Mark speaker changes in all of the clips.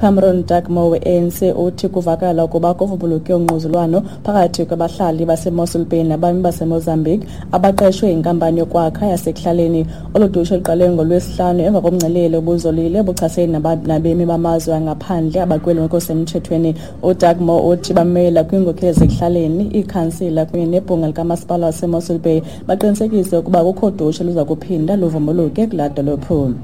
Speaker 1: Cameron Dugmore we-ANC uthi kuvakala ukuba kuvumbuluke ungquzulwano phakathi kwabahlali baseMossel Bay nabami baseMozambique abaqeshwe yinkampani yokwakha yasekuhlaleni. Olu dushe luqale ngoLwesihlanu emva komngcelele obuzolile obuchasene nabemi bamazwe angaphandle abakweli ngokusemthethweni. UDugmore uthi bamela kwiinkokheli zasekuhlaleni, iikhansila kunye nebhunga likamasipala waseMossel Bay baqinisekise ukuba kukho dushe luza kuphinda luvumbuluke kulaa dolophu.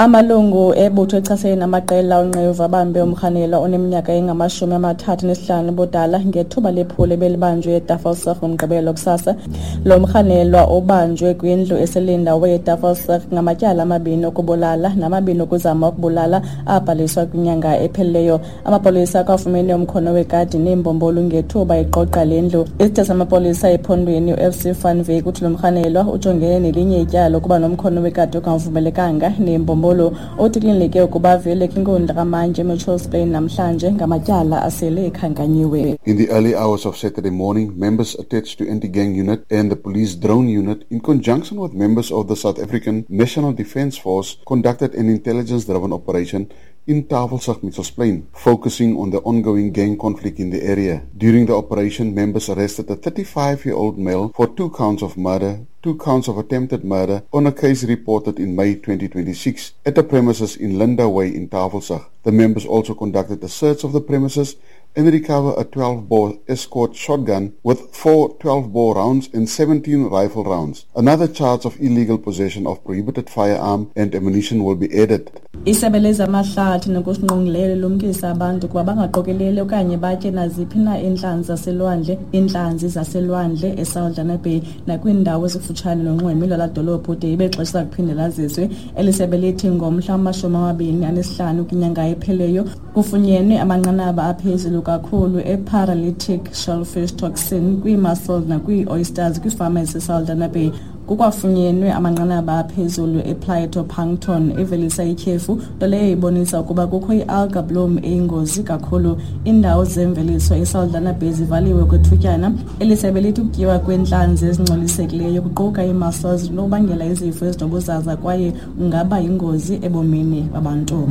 Speaker 1: Amalungu ebutho echasene namaqela onqevu abambe umrhanelwa oneminyaka engama-35 ubudala ngethuba lephulo ebelibanjwe eTafelsig ngoMgqibelo kusasa. Lo mrhanelwa ubanjwe kwindlu eselindawo yeTafelsig ngamatyala amabini okubulala namabini okuzama ukubulala abhaliswa kwinyanga ephelileyo. Amapolisa akwafumene umkhono wekati neembombolu ngethuba eqoqa le ndlu. Isithe samapolisa ephondweni uFC van Wyk uthi lo mrhanelwa ujongene nelinye ityala ukuba nomkhono wekati ongavumelekanga neembombolu. Uthi kulindeleke ukuba avele kwinkundla kamantyi eMitchells Plain namhlanje ngamatyala asele ekhankanyiwe.
Speaker 2: In the early hours of Saturday morning, members attached to anti-gang unit and the police drone unit, in conjunction with members of the South African National Defence Force, conducted an intelligence-driven operation in Tafelsig, Mitchells Plain, focusing on the ongoing gang conflict in the area. During the operation, members arrested a 35-year-old male for 2 counts of murder, 2 counts of attempted murder on a case reported in May 2026 at the premises in Linda Way in Tafelsig. The members also conducted a search of the premises and recovered a 12-bore escort shotgun with 4 12-bore rounds and 17 rifle rounds. Another charge of illegal possession of prohibited firearm and ammunition will be added.
Speaker 1: Isebe lezamahlathi nokusingqongileyo lilumkisa abantu ukuba bangaqokeleli okanye batye naziphi na iintlanzi zaselwandle eSaldanha Bay nakwiindawo ezikufutshane nonxweme lwalaa dolophu de ibe xesha kuphinde laziswe. Eli sebe lithi ngomhla wama-25 kwinyanga ephelileyo kufunyenwe amanqanaba aphezulu kakhulu e-paralytic shellfish toxin kwii-mussels nakwii-oysters kwiifama eziseSaldanha Bay. Kukwafunyenwe amanqanaba aphezulu e-phytoplankton evelisa ityhefu, nto leyo ibonisa ukuba kukho i-alga bloom eyingozi kakhulu. Iindawo zemveliso eSaldanha Bay zivaliwe okwethutyana. Eli sebe lithi ukutyiwa kweentlanzi ezingcolisekileyo kuquka ii-mussels zinokubangela izifo ezinobuzaza kwaye kungaba yingozi ebomini babantu.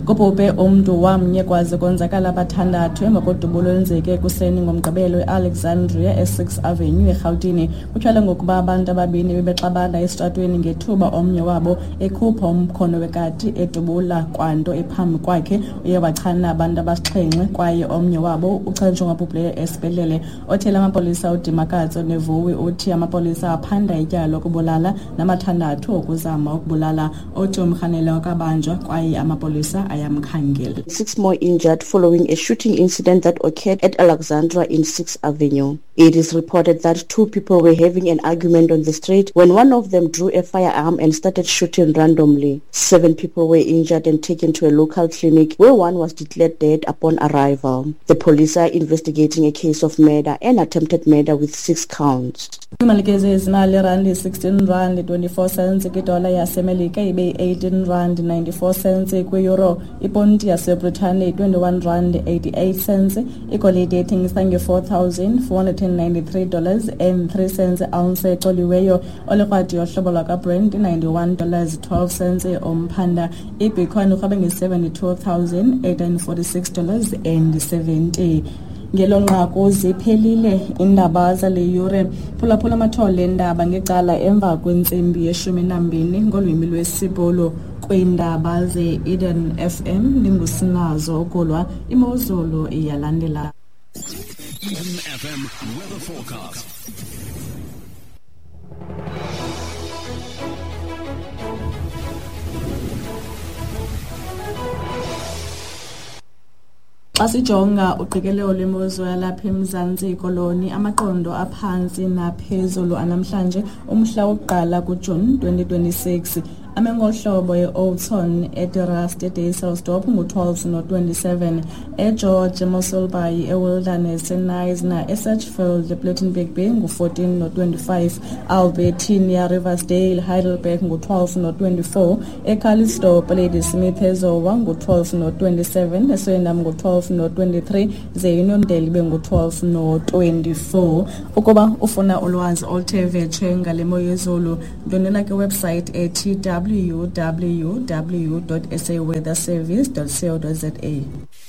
Speaker 1: Kubhubhe umntu wamnye kwaze konzakala abathandathu emva kodubulo olwenzeke ekuseni ngoMgqibelo eAlexandria e-6 Avenue eRhawutini. Kutyholwa ngokuba abantu ababini bebexabana esitratweni ngethuba omnye wabo ekhupha umkhono wekati edubula kwanto ephambi kwakhe. Uye wachana abantu abasixhenxe kwaye omnye wabo uchanjwe ngobhubhileyo esibhedlele. Othele amapolisa uDimakatso Nevuwi uthi amapolisa aphanda ityala lokubulala namathandathu okuzama ukubulala. Uthi umrhanelwa akabanjwa kwaye amapolisa ayamkhangela.
Speaker 3: 6 more injured following a shooting incident that occurred at Alexandra in 6th Avenue. It is reported that 2 people were having an argument on the street when one of them drew a firearm and started shooting randomly. 7 people were injured and taken to a local clinic where one was declared dead upon arrival. The police are investigating a case of murder and attempted murder with 6 counts.
Speaker 1: Imalike zezimali randi 16 rand 24 cents kwidola yaseMelika ibe yi-18 rand 94 cents kwi-euro. Iponti yaseBritane 21 rand 88 cents. Igolide ethengisa nge-$4,493.03 ounce ecoliweyo. Olikrwadi yohlobo lwakwaBrent $91.12 umphanda. Ibitcoin irhwabe nge-$72,846.70. Ngelo nqaku ziphelile iindaba zale yure. Phulaphula amathole eendaba ngecala emva kwentsimbi ye-12 ngolwimi lwesiBhulu. Kwiindaba ze-Eden FM ndingusinazo ukulwa imozulu iyalandela.
Speaker 4: Eden FM weather forecast.
Speaker 1: Xa sijonga uqikelelo lwemozulu yalapha eMzantsi Koloni, amaqondo aphantsi naphezulu anamhlanje umhla wokuqala kuJuni 2026. Amengohlobo e-Oudtshoorn, eDe-Rust, eDysselsdorp ngu-12 no-27, eGeorge, eMossel Bay, eWilderness, eKnysna, eSedgefield, ePlettenberg Bay ngu-14 no-25, Albertinia, Riversdale, Heidelberg ngu-12 no-24, eCalitzdorp, Ladysmith, eZowa ngu-12 no-27, eSwellendam ngu-12 no-23, ze Uniondale ibe ngu-12 no-24. Ukuba ufuna ulwazi oluthe vetshe ngale mo yezulu, ndwendwela kwiwebsite ethi www.saweatherservice.co.za.